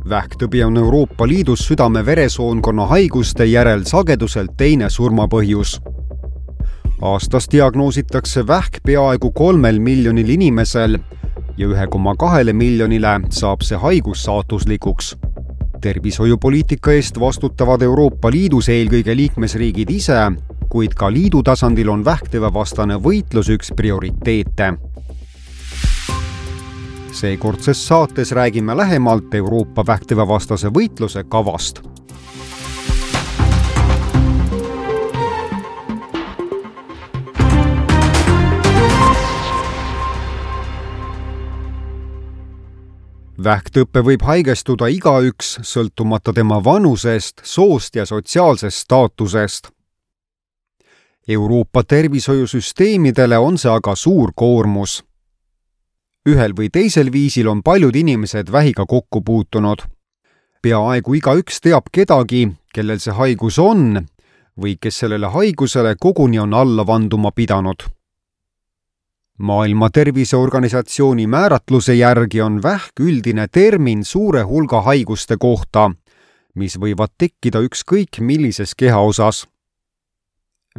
Vähktõbi on Euroopa Liidus südame-veresoonkonna haiguste järel sageduselt teine surmapõhjus. Aastas diagnoositakse vähk peaaegu 3 miljonil inimesel ja 1,2 miljonile saab see haigus saatuslikuks. Tervishoiupoliitika eest vastutavad Euroopa Liidus eelkõige liikmesriigid ise, kuid ka liidu tasandil on vähktõvevastane võitlus üks prioriteete. Seekordses saates räägime lähemalt Euroopa vähktõvevastase võitluse kavast. Vähktõppe võib haigestuda igaüks, sõltumata tema vanusest, soost ja sotsiaalsest staatusest. Euroopa tervishoiusüsteemidele on see aga suur koormus. Ühel või teisel viisil on paljud inimesed vähiga kokku puutunud. Peaaegu igaüks teab kedagi, kellel see haigus on või kes sellele haigusele koguni on alla vanduma pidanud. Maailma Terviseorganisatsiooni määratluse järgi on vähk üldine termin suure hulga haiguste kohta, mis võivad tekkida ükskõik millises kehaosas.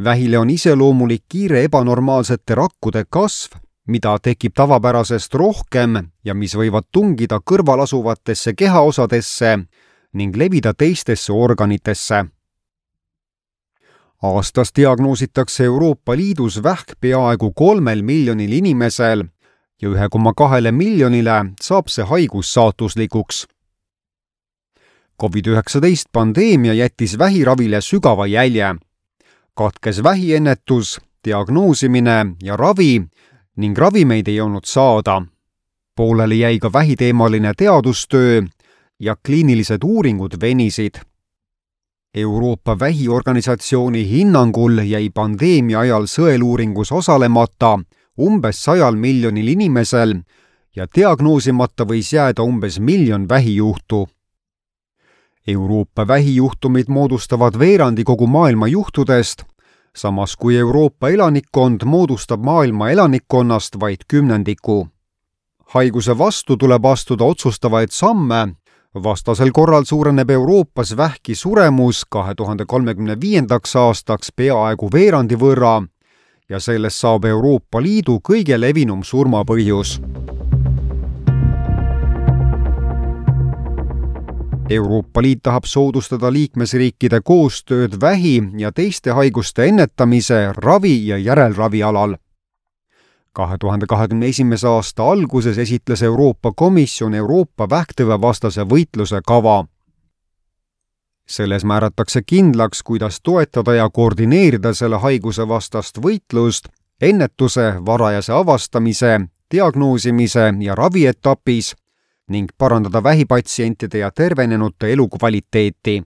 Vähile on iseloomulik kiire ebanormaalsete rakkude kasv, mida tekib tavapärasest rohkem ja mis võivad tungida kõrvalasuvatesse kehaosadesse ning levida teistesse organitesse. Aastas diagnoositakse Euroopa Liidus vähk peaaegu 3 miljonil inimesel ja 1,2 miljonile saab see haigus saatuslikuks. COVID-19 pandeemia jättis vähiravile sügava jälje. Katkes vähiennetus, diagnoosimine ja ravi ning ravimeid ei olnud saada. Pooleli jäi ka vähiteemaline teadustöö ja kliinilised uuringud venisid. Euroopa Vähiorganisatsiooni hinnangul jäi pandeemia ajal sõeluuringus osalemata umbes 100 miljonil inimesel ja diagnoosimata võis jääda umbes 1 miljon vähijuhtu. Euroopa vähijuhtumid moodustavad veerandi kogu maailma juhtudest, samas kui Euroopa elanikkond moodustab maailma elanikkonnast vaid 10%. Haiguse vastu tuleb astuda otsustavaid samme, vastasel korral suureneb Euroopas vähki suremus 2035. aastaks peaaegu veerandi võrra ja sellest saab Euroopa Liidu kõige levinum surmapõhjus. Euroopa Liit tahab soodustada liikmesriikide koostööd vähi ja teiste haiguste ennetamise, ravi ja järelravi alal. 2021. aasta alguses esitles Euroopa Komisjon Euroopa vähktõvevastase võitluse kava. Selles määratakse kindlaks, kuidas toetada ja koordineerida selle haiguse vastast võitlust ennetuse, varajase avastamise, diagnoosimise ja ravietapis ning parandada vähipatsientide ja tervenenute elukvaliteeti.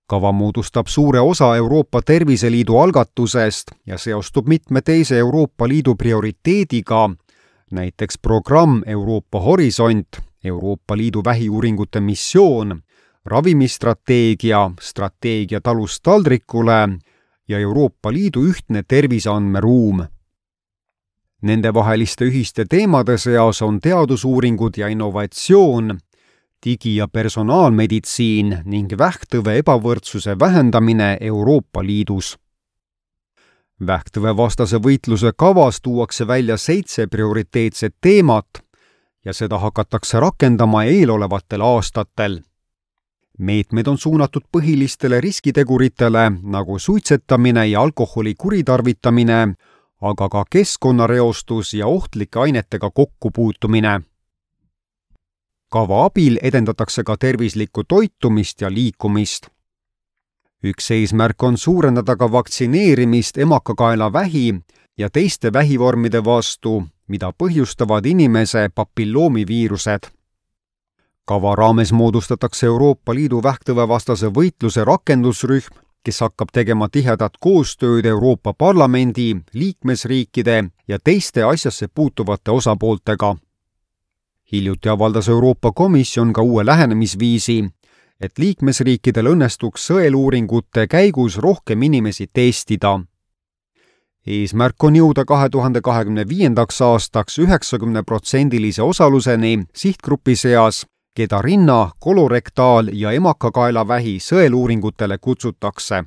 Kava moodustab suure osa Euroopa Terviseliidu algatusest ja seostub mitme teise Euroopa Liidu prioriteediga, näiteks programm Euroopa Horisont, Euroopa Liidu vähiuuringute missioon, ravimistrateegia, strateegia talust taldrikule ja Euroopa Liidu ühtne terviseandmeruum. Nendevaheliste ühiste teemade seas on teadusuuringud ja innovatsioon, digi- ja personaalmeditsiin ning vähktõve ebavõrdsuse vähendamine Euroopa Liidus. Vähktõvevastase võitluse kavas tuuakse välja 7 prioriteetset teemat ja seda hakatakse rakendama eelolevatel aastatel. Meetmed on suunatud põhilistele riskiteguritele nagu suitsetamine ja alkoholi kuritarvitamine, aga ka keskkonnareostus ja ohtlike ainetega kokkupuutumine. Kava abil edendatakse ka tervislikku toitumist ja liikumist. Üks eesmärk on suurendada ka vaktsineerimist emakakaelavähi ja teiste vähivormide vastu, mida põhjustavad inimese papilloomiviirused. Kava raames moodustatakse Euroopa Liidu vähktõvevastase võitluse rakendusrühm, kes hakkab tegema tihedat koostööd Euroopa Parlamendi, liikmesriikide ja teiste asjasse puutuvate osapooltega. Hiljuti avaldas Euroopa Komisjon ka uue lähenemisviisi, et liikmesriikidel õnnestuks sõeluuringute käigus rohkem inimesi testida. Eesmärk on jõuda 2025. aastaks 90%-lise osaluseni sihtgrupi seas, keda rinna, kolorektaal- ja emakakaelavähi sõeluuringutele kutsutakse.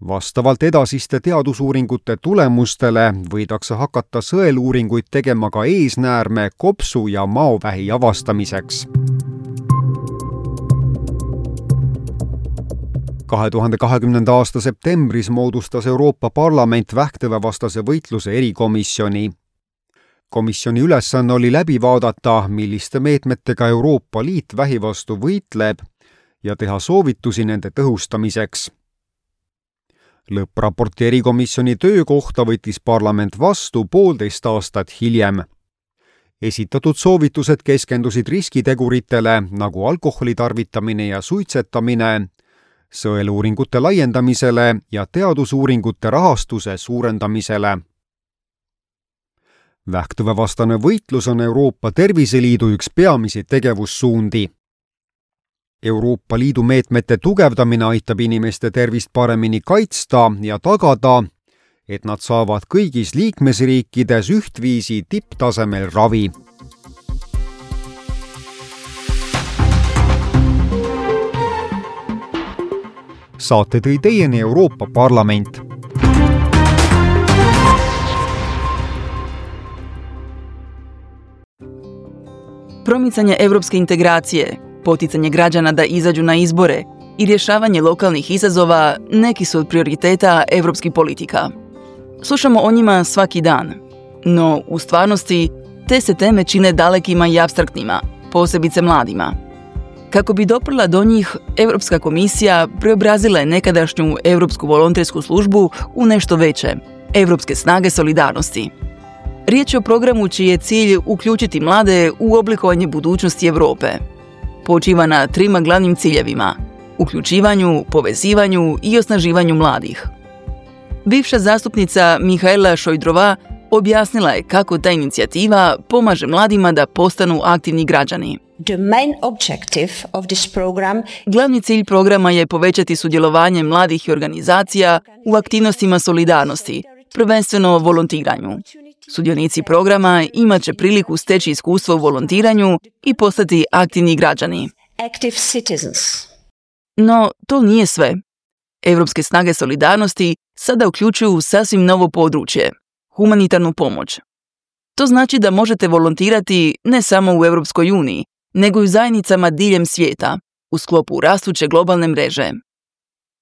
Vastavalt edasiste teadusuuringute tulemustele võidakse hakata sõeluuringuid tegema ka eesnäärme, kopsu ja maovähi avastamiseks. 2020. aasta septembris moodustas Euroopa Parlament vähktõvevastase võitluse erikomisjoni. Komisjoni ülesanne oli läbi vaadata, milliste meetmetega Euroopa Liit vähi vastu võitleb ja teha soovitusi nende tõhustamiseks. Lõppraporti erikomisjoni töö kohta võttis parlament vastu 1,5 aastat hiljem. Esitatud soovitused keskendusid riskiteguritele nagu alkoholi tarvitamine ja suitsetamine, sõeluuringute laiendamisele ja teadusuuringute rahastuse suurendamisele. Vähktõvevastane võitlus on Euroopa Terviseliidu üks peamisi tegevussuundi. Euroopa Liidu meetmete tugevdamine aitab inimeste tervist paremini kaitsta ja tagada, et nad saavad kõigis liikmesriikides ühtviisi tipptasemel ravi. Saate tõi teieni Euroopa Parlament. Promicanje europske integracije, poticanje građana da izađu na izbore i rješavanje lokalnih izazova neki su od prioriteta europskih politika. Slušamo o njima svaki dan, no u stvarnosti te se teme čine dalekima i apstraktnima, posebice mladima. Kako bi doprla do njih, Europska komisija preobrazila je nekadašnju Europsku volontersku službu u nešto veće, Europske snage solidarnosti. Riječ je o programu čiji je cilj uključiti mlade u oblikovanje budućnosti Europe. Počiva na 3 glavnim ciljevima: uključivanju, povezivanju i osnaživanju mladih. Bivša zastupnica Mihaela Šojdrova objasnila je kako ta inicijativa pomaže mladima da postanu aktivni građani. The main objective of this program Glavni cilj programa je povećati sudjelovanje mladih i organizacija u aktivnostima solidarnosti, prvenstveno volontiranju. Sudionici programa imat će priliku steći iskustvo u volontiranju i postati aktivni građani. Active citizens. No, to nije sve. Europske snage solidarnosti sada uključuju sasvim novo područje, humanitarnu pomoć. To znači da možete volontirati ne samo u Europskoj uniji, nego i u zajednicama diljem svijeta, u sklopu rastuće globalne mreže.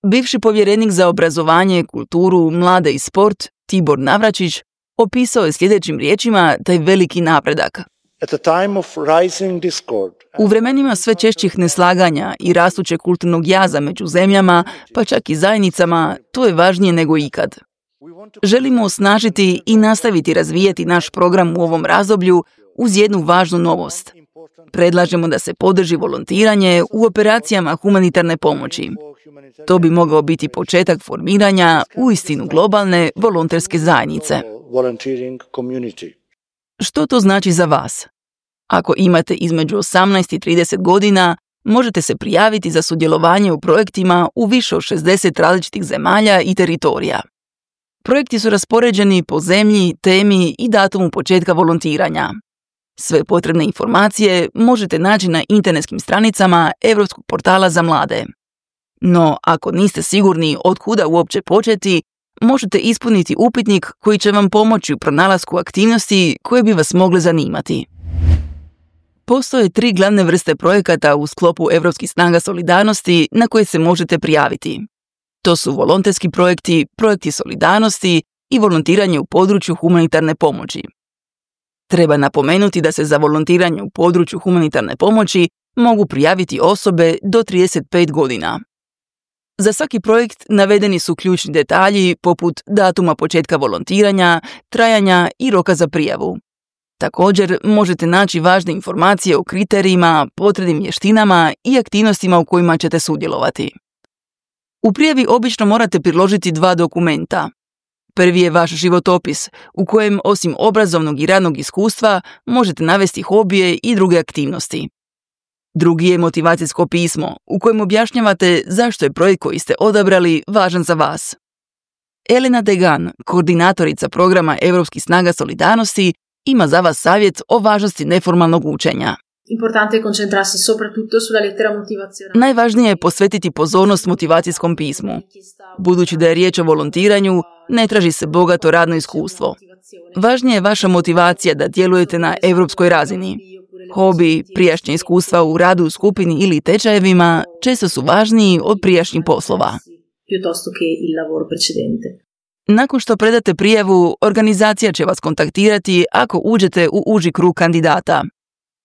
Bivši povjerenik za obrazovanje, kulturu, mlade i sport, Tibor Navračić, opisao je sljedećim riječima taj veliki napredak. At a time of rising discord. U vremenima sve češćih neslaganja i rastućeg kulturnog jaza među zemljama, pa čak i zajednicama, to je važnije nego ikad. Želimo osnažiti i nastaviti razvijati naš program u ovom razdoblju uz jednu važnu novost. Predlažemo da se podrži volontiranje u operacijama humanitarne pomoći. To bi mogao biti početak formiranja uistinu globalne volonterske zajednice. Što to znači za vas? Ako imate između 18 i 30 godina, možete se prijaviti za sudjelovanje u projektima u više od 60 različitih zemalja i teritorija. Projekti su raspoređeni po zemlji, temi i datumu početka volontiranja. Sve potrebne informacije možete naći na internetskim stranicama Europskog portala za mlade. No, ako niste sigurni od kuda uopće početi, možete ispuniti upitnik koji će vam pomoći u pronalasku aktivnosti koje bi vas mogle zanimati. Postoje 3 glavne vrste projekata u sklopu Europskih snaga solidarnosti na koje se možete prijaviti. To su volonterski projekti, projekti solidarnosti i volontiranje u području humanitarne pomoći. Treba napomenuti da se za volontiranje u području humanitarne pomoći mogu prijaviti osobe do 35 godina. Za svaki projekt navedeni su ključni detalji poput datuma početka volontiranja, trajanja i roka za prijavu. Također možete naći važne informacije o kriterijima, potrebnim vještinama i aktivnostima u kojima ćete sudjelovati. U prijavi obično morate priložiti 2 dokumenta. Prvi je vaš životopis, u kojem osim obrazovnog i radnog iskustva možete navesti hobije i druge aktivnosti. Drugi je motivacijsko pismo, u kojem objašnjavate zašto je projekt koji ste odabrali važan za vas. Elena Degan, koordinatorica programa Europskih snaga solidarnosti, ima za vas savjet o važnosti neformalnog učenja. Importante è concentrarsi soprattutto sulla lettera motivazionale. Najvažnije je posvetiti pozornost motivacijskom pismu. Budući da je riječ o volontiranju, ne traži se bogato radno iskustvo. Važnija je vaša motivacija da djelujete na europskoj razini. Hobi, prijašnja iskustva u radu u skupini ili tečajevima često su važniji od prijašnjih poslova. Piuttosto che il lavoro precedente. Nakon što predate prijavu, organizacija će vas kontaktirati ako uđete u uži krug kandidata.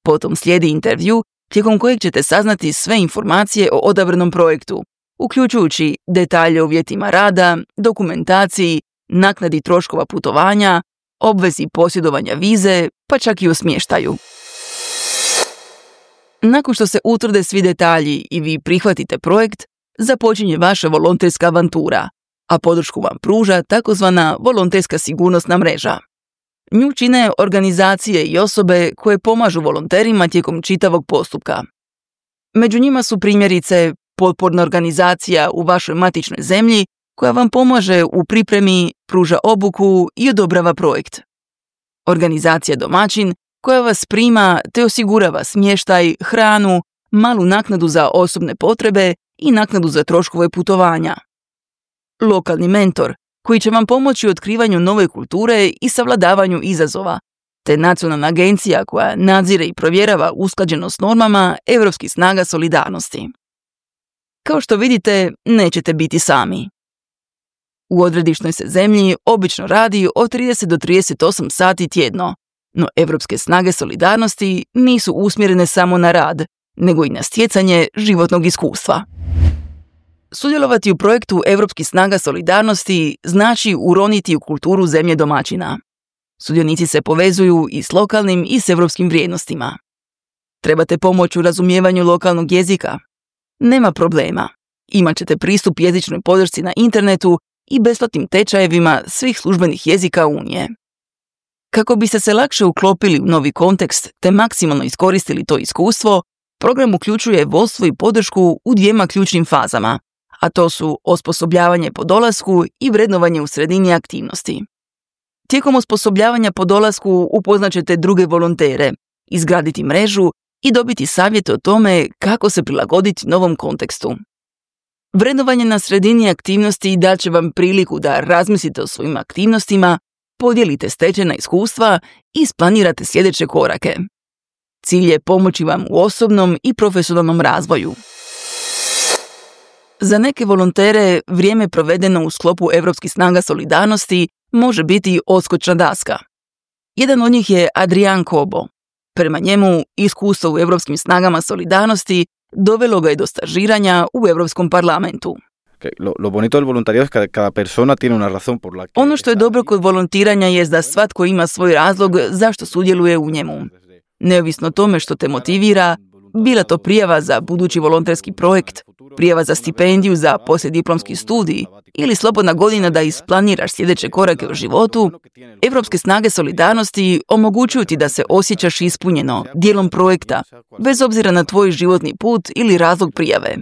Potom slijedi intervju tijekom kojeg ćete saznati sve informacije o odabranom projektu, uključujući detalje o uvjetima rada, dokumentaciji, naknadi troškova putovanja, obvezi posjedovanja vize, pa čak i o smještaju. Nakon što se utvrde svi detalji i vi prihvatite projekt, započinje vaša volonterska avantura, a podršku vam pruža takozvana volonterska sigurnosna mreža. Nju čine organizacije i osobe koje pomažu volonterima tijekom čitavog postupka. Među njima su primjerice potporna organizacija u vašoj matičnoj zemlji koja vam pomaže u pripremi, pruža obuku i odobrava projekt. Organizacija domaćin koja vas prima te osigurava smještaj, hranu, malu naknadu za osobne potrebe i naknadu za troškove putovanja. Lokalni mentor koji će vam pomoći u otkrivanju nove kulture i savladavanju izazova, te nacionalna agencija koja nadzire i provjerava usklađenost normama europskih snaga solidarnosti. Kao što vidite, nećete biti sami. U odredišnoj se zemlji obično radi od 30 do 38 sati tjedno, no europske snage solidarnosti nisu usmjerene samo na rad, nego i na stjecanje životnog iskustva. Sudjelovati u projektu Europskih snaga solidarnosti znači uroniti u kulturu zemlje domaćina. Sudionici se povezuju i s lokalnim i s europskim vrijednostima. Trebate pomoć u razumijevanju lokalnog jezika? Nema problema. Imat ćete pristup jezičnoj podršci na internetu i besplatnim tečajevima svih službenih jezika Unije. Kako biste se lakše uklopili u novi kontekst te maksimalno iskoristili to iskustvo, program uključuje vodstvo i podršku u dvijema ključnim fazama, a to su osposobljavanje po dolasku i vrednovanje u sredini aktivnosti. Tijekom osposobljavanja po dolasku upoznat ćete druge volontere, izgraditi mrežu i dobiti savjete o tome kako se prilagoditi novom kontekstu. Vrednovanje na sredini aktivnosti dat će vam priliku da razmislite o svojim aktivnostima, podijelite stečena iskustva i isplanirate sljedeće korake. Cilj je pomoći vam u osobnom i profesionalnom razvoju. Za neke volontere vrijeme provedeno u sklopu Europskih snaga solidarnosti može biti odskočna daska. Jedan od njih je Adrian Kobo. Prema njemu, iskustvo u Europskim snagama solidarnosti dovelo ga je do stažiranja u Europskom parlamentu. Lo bonito del voluntariado es que cada persona tiene una razón por la que Ono što je dobro kod volontiranja jest da svatko ima svoj razlog zašto sudjeluje u njemu. Neovisno o tome što te motivira, bila to prijava za budući volonterski projekt, prijava za stipendiju za poslijediplomski studij ili slobodna godina da isplaniraš sljedeće korake u životu, Europske snage solidarnosti omogućuju ti da se osjećaš ispunjeno, dijelom projekta, bez obzira na tvoj životni put ili razlog prijave.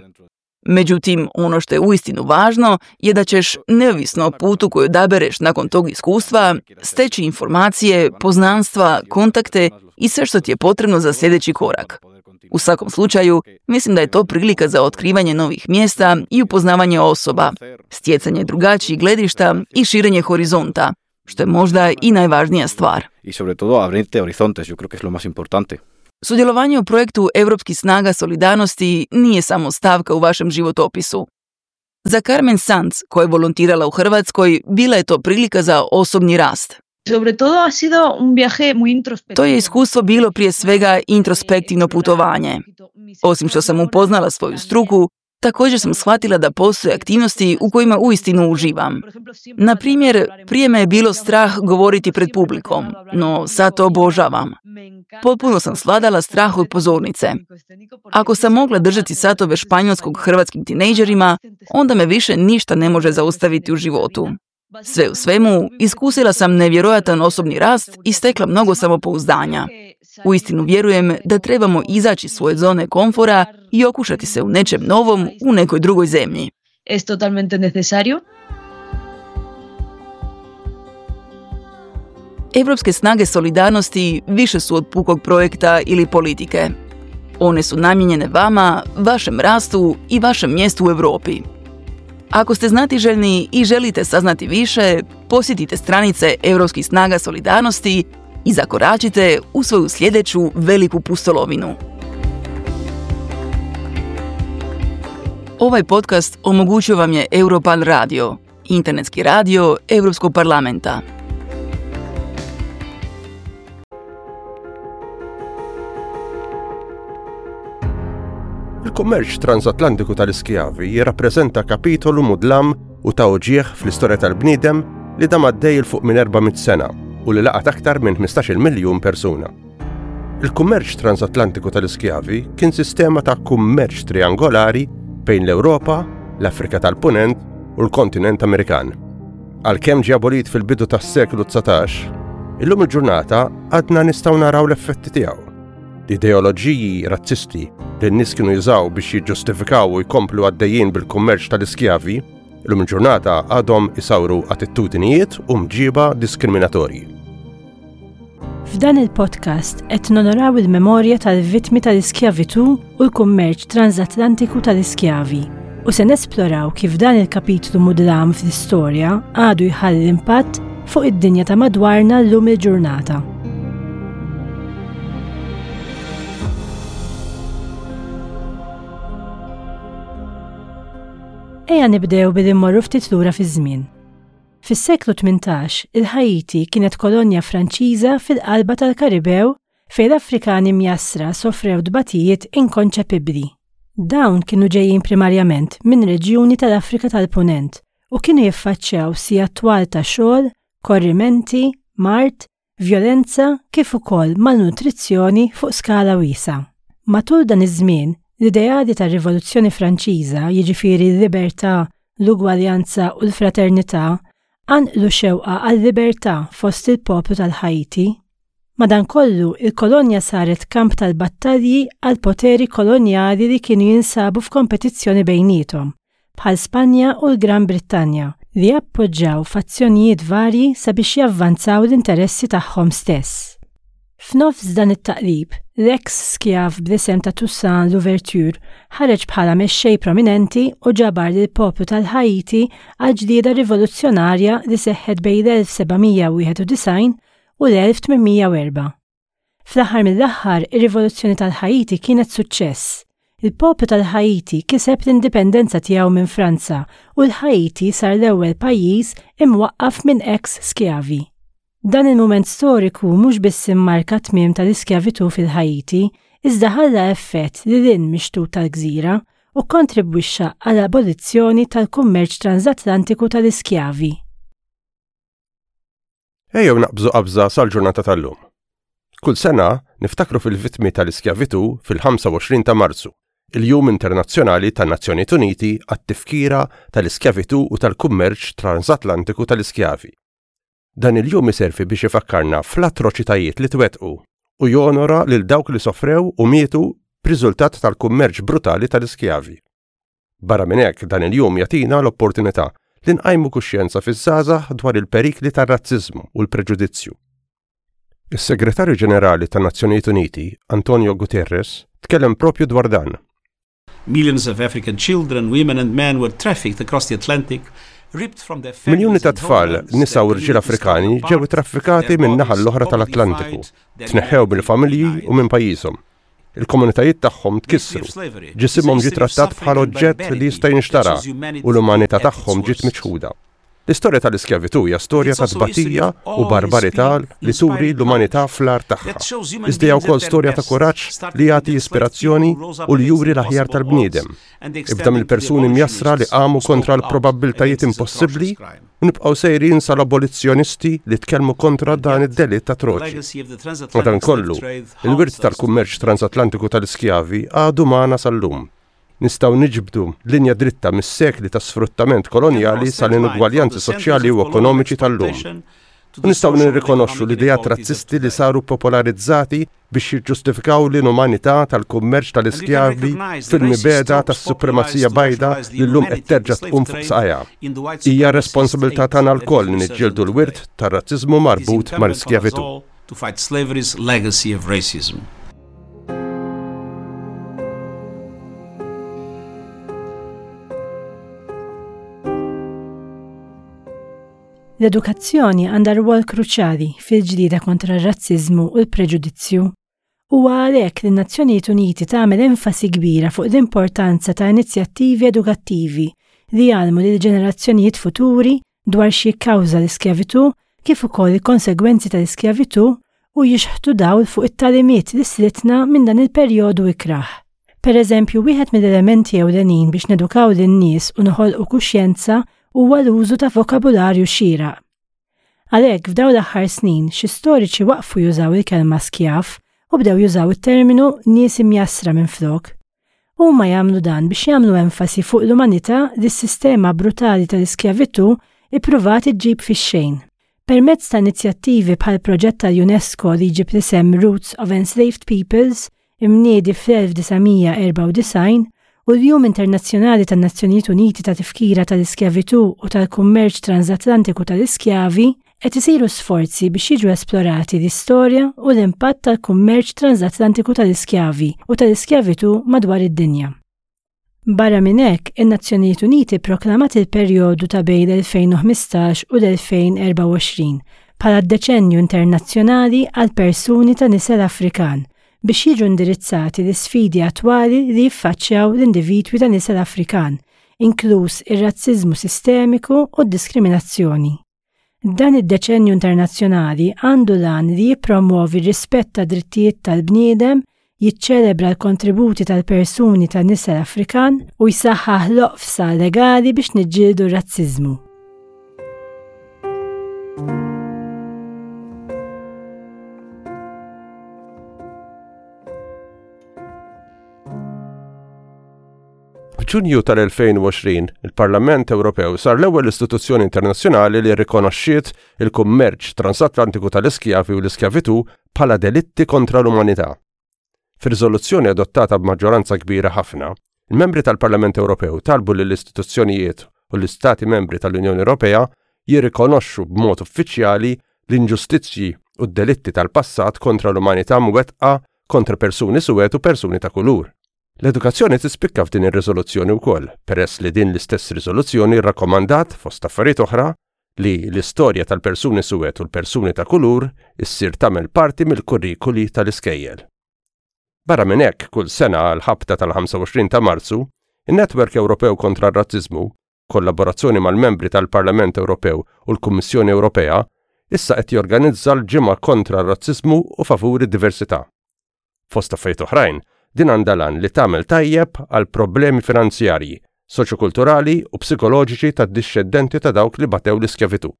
Međutim, ono što je uistinu važno je da ćeš, neovisno o putu koji odabereš nakon tog iskustva, steći informacije, poznanstva, kontakte i sve što ti je potrebno za sljedeći korak. U svakom slučaju, mislim da je to prilika za otkrivanje novih mjesta i upoznavanje osoba, stjecanje drugačijih gledišta i širenje horizonta, što je možda i najvažnija stvar. Y sobre todo abrirte horizontes, yo creo que es lo más importante. Sudjelovanje u projektu Europskih snaga solidarnosti nije samo stavka u vašem životopisu. Za Carmen Sanz, koja je volontirala u Hrvatskoj, bila je to prilika za osobni rast. Sobre todo ha sido un viaje muy introspectivo. To je iskustvo bilo prije svega introspektivno putovanje. Osim što sam upoznala svoju struku, također sam shvatila da postoje aktivnosti u kojima uistinu uživam. Na primjer, prije me je bilo strah govoriti pred publikom, no sad to obožavam. Potpuno sam svladala strah od pozornice. Ako sam mogla držati satove španjolskog hrvatskim tinejdžerima, onda me više ništa ne može zaustaviti u životu. Sve u svemu, iskusila sam nevjerojatan osobni rast i stekla mnogo samopouzdanja. Uistinu vjerujem da trebamo izaći iz svoje zone komfora i okušati se u nečem novom u nekoj drugoj zemlji. Es totalmente necesario. Europske snage solidarnosti više su od pukog projekta ili politike. One su namijenjene vama, vašem rastu i vašem mjestu u Europi. Ako ste znatiželjni i želite saznati više, posjetite stranice Europskih snaga solidarnosti i zakoračite u svoju sljedeću veliku pustolovinu. Ovaj podcast omogućio vam je Europarl Radio, internetski radio Europskog parlamenta. Il-kummerċ transatlantiku tal-iskjavi jirrappreżenta kapitolu mudlam u ta' uġigħ fl-istorja tal-bniedem li dam għaddej 'il fuq minn 400 sena u li laqat aktar minn 15-il miljun persuna. Il-kummerċ transatlantiku tal-iskjavi kien sistema ta' kummerċ triangolari bejn l-Ewropa, l-Afrika tal-Punent u l-kontinent Amerikan. Għalkemm ġie abolit fil-bidu tas-seklu 19, illum il-ġurnata għadna nistgħu naraw l-effetti tiegħu. L-ideoloġiji razzisti li n-nies kienu jużaw biex jiġġustifikaw u jkomplu għaddejjin bil-kummerċ tal-iskjavi, illum il-ġurnata għadhom isawru attitudinijiet u mġiba diskriminatorji. F'dan il-podcast qed nonoraw il-memorja tal-vittmi tal-iskjavitù u l-kummerċ transatlantiku tal-iskjavi u se nesploraw kif dan il-kapitlu mudlam fl-istorja għadu jħalli impatt fuq id-dinja ta' madwarna llum il-ġurnata. Ejja nibdew billi mmorru ftit lura fiż-żmien. Fis-seklu 18, il-Ħaiti kienet kolonja Franċiża fil-qalba tal-Karibew fejn l-Afrikani mjassra sofrew tbatijiet inkonċepibbli. Dawn kienu ġejjin primarjament minn reġjuni tal-Afrika tal-Punent u kienu jiffaċċjaw sigħat twal ta' xogħol, korrimenti, mard, vjolenza kif ukoll malnutrizzjoni fuq skala wiesgħa. Matul dan iż-żmien, l-ideali tar-Rivoluzzjoni Franċiża, jiġifieri l-libertà, l-ugwaljanza u l-fraternità, qanqlu xewqa għal-libertà fost il-poplu tal-Ħaiti. Madankollu, il-kolonja saret kamp tal-battalji għall-poteri kolonjali li kienu jinsabu f'kompetizzjoni bejniethom, bħal Spanja u l-Gran Brittanja, li appoġġaw fazzjonijiet varji sabiex javvanzaw l-interessi tagħhom stess. F'nofs dan it-taqlib, l-eks skjav bl-isem ta' Toussaint Louverture ħareġ bħala mexxej prominenti u ġabar lill-poplu tal-Ħaiti għall-ġlieda rivoluzzjonarja li seħħet bejn l-1791 u l-1804. Fl-aħħar mill-aħħar, ir-Rivoluzzjoni tal-Ħaiti kienet suċċess. Il-poplu tal-Ħaiti kiseb l-indipendenza tiegħu minn Franza u l-Ħaiti sar l-ewwel pajjiż imwaqqaf minn eks skjavi. Dan il-mument storiku mhux biss immarka t-tmiem tal-iskjavitù fil-Ħaiti, iżda ħalla effett lil hinn mix-xtut tal-gżira u kkontribwixxa għall-abolizzjoni tal-kummerċ transatlantiku tal-iskjavi. Ejjew naqbżu qabża sal-ġurnata tal-lum. Kull sena niftakru fil-vittmi tal-iskjavitù fil-25 ta' Marzu, il-Jum Internazzjonali tan-Nazzjonijiet Uniti għat-tifkira tal-iskjavitù u tal-kummerċ transatlantiku tal-iskjavi. Dan il-jum iservi biex ifakkarna fl-atroċitajiet li twettqu u jonora lil dawk li sofrew u mietu b'riżultat tal-kummerċ brutali tal-iskjavi. Barra minn hekk, dan il-jum jagħtina l-opportunità li nqajmu kuxjenza fiż-żgħażagħ dwar il-perikli tar-razziżmu u l-preġudizzju. Is-Segretarju Ġenerali tan-Nazzjonijiet Uniti, Antonio Guterres, tkellem proprju dwar dan. Millions of African children, women and men were trafficked across the Atlantic, Miljuni ta' tfal, nisa u rġiel Afrikani ġew ittraffikati min-naħa l-oħra tal-Atlantiku, tneħħew mill-familji u minn pajjiżhom. Il-komunitajiet tagħhom tkissru, ġisimhom ġie trattat bħal oġġett li jista' jinxtara u l-umanità tagħhom ġiet miċħuda. L-istorja tal-iskjavitù hija storja ta' tbatija u barbarità li turi l-umanità fl-agħar tagħha. Iżda hija wkoll storja ta' kuraġġ li jagħti ispirazzjoni u li juri l-aħjar tal-bniedem. Ibda mill-persuni mjassra li qamu kontra l-probabbiltajiet impossibbli u nibqgħu sejrin sal-abolizzjonisti li tkellmu kontra dan id-delitt atroċi. Madankollu, il-wirt tal-kummerċ transatlantiku tal-iskjavi għadu magħna sal-lum. Nistgħu niġbdu linja dritta mis-sekli ta' sfruttament kolonjali sal-inugwaljanzi soċjali u ekonomiċi tal-lum. U nistgħu nirrikonoxxu l-ideat razzisti li saru popolarizzati biex jiġġustifikaw l-inumanità tal-kummerċ tal-iskjavi fil-mibegħda tas-supremazija bajda li llum qed terġa' tqum fuq saqajha. Hija r-responsabilità tagħna lkoll li niġġieldu l-wirt tar-razziżmu marbut mal-iskjavitù. To fight slavery's legacy of racism. L-edukazzjoni għandha rwol kruċjali fil-ġlieda kontra r-razziżmu u l-preġudizzju. Huwa għalhekk li n-Nazzjonijiet Uniti tagħmel enfasi kbira fuq l-importanza ta' inizjattivi edukattivi li jgħallmu lill-ġenerazzjonijiet futuri dwar x'jikkawża l-iskjavitù kif ukoll il-konsegwenzi tal-iskjavitù u jixħtu dawl fuq it-tagħlimiet li slitna minn dan il-perjodu ikrah. Per eżempju, wieħed mill-elementi ewlenin biex nedukaw lin-nies u noħolqu kuxjenza huwa l-użu ta' vokabularju xieraq. Għalhekk, f'dawn l-aħħar snin, xi storiċi waqfu jużaw il-kelma skjav u bdew jużaw it-terminu nies imjassra minflok. Huma jagħmlu dan biex jagħmlu enfasi fuq l-umanità li s-sistema brutali tal-iskjavitù ippruvat iġġib fix-xejn. Permezz ta' inizjattivi bħall-proġett tal-UNESCO li jġib l-isem Roots of Enslaved Peoples, imniedi fl-1994, u l-Jum Internazzjonali tan-Nazzjonijiet Uniti ta' Tifkira tal-Iskjavitù u tal-Kummerċ Transatlantiku tal-Iskjavi, qed isiru sforzi biex jiġu esplorati l-istorja u l-impatt tal-kummerċ transatlantiku tal-iskjavi u tal-iskjavitù madwar id-dinja. Barra minn hekk, in-Nazzjonijiet Uniti pproklamat il-perjodu ta' bejn l-2015 u l-2024 bħala d-Deċennju Internazzjonali għall-Persuni ta' Nisel Afrikan biex jiġu indirizzati l-isfidi attwali li jiffaċċjaw l-individwi ta' nisel Afrikan, inkluż ir-razziżmu sistemiku u d-diskriminazzjoni. Dan id-Deċennju Internazzjonali għandu l-għan li jippromwovi r-rispett tad-drittijiet tal-bniedem, jiċċelebra l-kontributi tal-persuni ta' nisel Afrikan u jsaħħaħ l-oqfsa legali biex niġġieldu r-razziżmu. F'Ġunju tal-2020, il-Parlament Ewropew sar l-ewwel istituzzjoni internazzjonali li rrikonoxxiet il-kummerċ transatlantiku tal-iskjavi u l-iskjavitù bħala delitti kontra l-umanità. Fir-riżoluzzjoni adottata b'maġġoranza kbira ħafna, il-membri tal-Parlament Ewropew talbu lill-istituzzjonijiet u l-Istati membri tal-Unjoni Ewropea jirrikonoxxu b'mod uffiċjali l-inġustizzji u d-delitti tal-passat kontra l-umanità mwettqa kontra persuni suwed u persuni ta' kulur. L-edukazzjoni tispikka f'din ir-riżoluzzjoni wkoll, peress li din l-istess riżoluzzjoni rrakkomandat, fost affarijiet oħra, li l-istorja tal-persuni suwed u l-persuni ta' kulur issir tagħmel parti mill-kurrikuli tal-iskejjel. Barra minn hekk, kull sena għall-ħabta tal-25 ta' Marzu, in-Netwerk Ewropew kontra r-Razziżmu, b'kollaborazzjoni mal-Membri tal-Parlament Ewropew u l-Kummissjoni Ewropea, issa qed jorganizza l-Ġimgħa kontra r-Razziżmu u favur id-Diversità. Fost affarijiet oħrajn, din għandha l-għan li tagħmel tajjeb għal problemi finanzjarji, soċjokulturali u psikoloġiċi tad-dixxendenti ta' dawk li batew l-iskjavitù.